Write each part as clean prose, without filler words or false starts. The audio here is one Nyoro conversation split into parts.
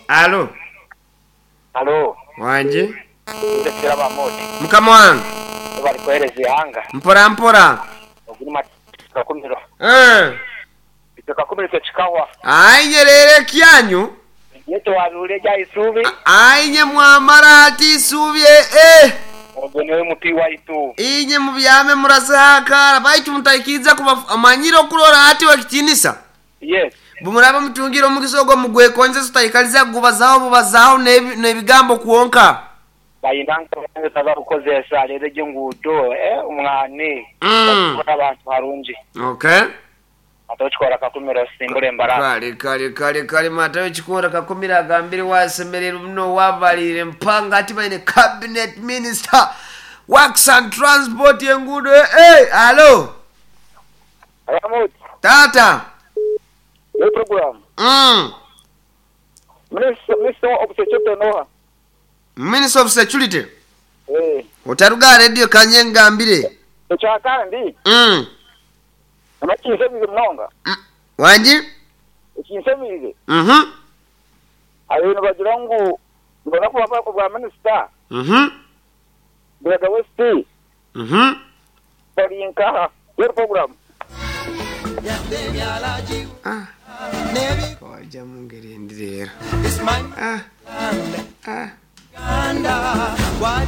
Alo. Alo. Wangi. Nze Kiraba Modi. Mukama wange. Webale kuwereza eighanga. Mpora mpora. Ogu ni Matayo Kakumiro. Eh. Itwe Kakumiro itwe kikahwa. Aye inye leero ekyanyu. Iye twabiwulira egya Isubi. Aye inye mwamara ati Isubi eh. Ogwo niwe muti waitu. Inye mubyame muraseho akaara baitu mutaikiriza kuba amanyire okurora ati wekitinisa. Yes. Bumuraba mutungire omugisa ogwo mugwekonzesa otaikaliza kugubazaho bubazaho n'ebigambo kwonka. Bayina nka bakukozesa leero egyo enguudo eh omwani. Bakikora abantu harungi. Okay. Matayo Kikoora Kakumiro simbura embarasi. Kale kale kale kale Matayo Kikoora Kakumiro agambire wasemererwa muno wabalire mpanga ati baine cabinet minister works and transport enguudo eh eh alo. Aramut. Tata. Yo program. Minister, Minister of Security noha. Minister of Security. Eh. Otaruga radio kanye ngambire. Ekyakandi. Amakinsemire munonga. Wangi? Ekinsemire. Abintu bagira ngu nibona kuba bwa minister. Buraga West. Bari nkaha. Yo program. Ah. Waja mu ngeri endi leero. Ah. Ah.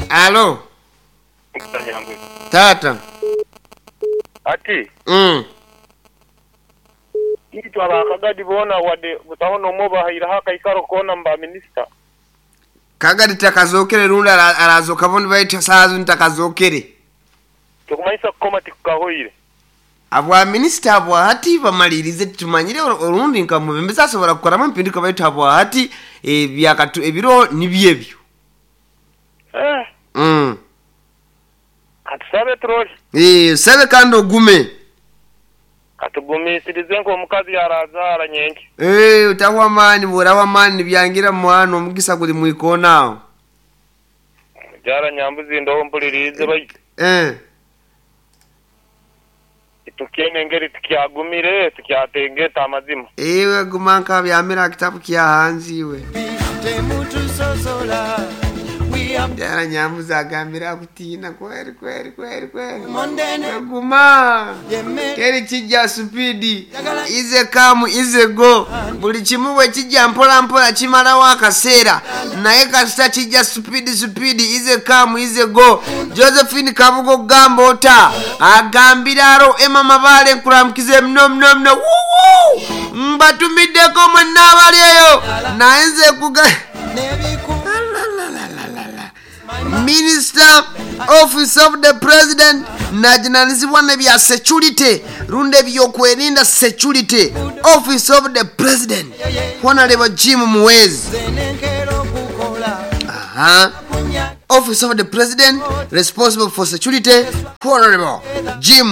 Alo. Tata. Ati. Itwe abakagadi boona wadde butaho n'omwe obahairaho akaikaro koona mu ba minisita. Kagadi takazokere rundi arazoka boona baitu saaha zinu takazokere. Tikumanyisa kukoma tikukahoire. Abwa minisita abwa hati bamalirize titumanyire orundi nka mubembezi asobora kukoramu empinduka baitu habwa hati ebyakatu ebiro nibyo ebyo. Katusabe turole. Sabe kandi ogume. Katugumisirize nk'omukazi yarazaara nyenki. Otahwa amaani bworahwa amaani nibyangira mwana omugisa guri mwikoona aho. Mukyara Nyambuzi ndoho mpuliriize baitu. Tukyene engeri tukyagumire tukyatengeta amazima. Iwe guma nkabyamira aha kitabu kya hanze iwe. Mukyara Nyambuzi agambire akutiina kweri kweri kweri kweri. Guma. Teri kijja supidi. Ize kamu ize go. Buli kimu bwe kijja mpola mpola kimalawo akaseera. Naye kasita kijja supidi supidi ize kamu ize go. Josephine Kabugo gamba ota. Agambira aro Emma Mabale nkuramukize mno mno mno. Wuu! Mbatumiddeko mwenna abali eyo. Naye nze kuga Minister Office of the President najunanizibwa nebya security rundi ebyokwerinda security Office of the President Honorable Jim Muhwezi. Aha. Office of the President responsible for security Honorable Jim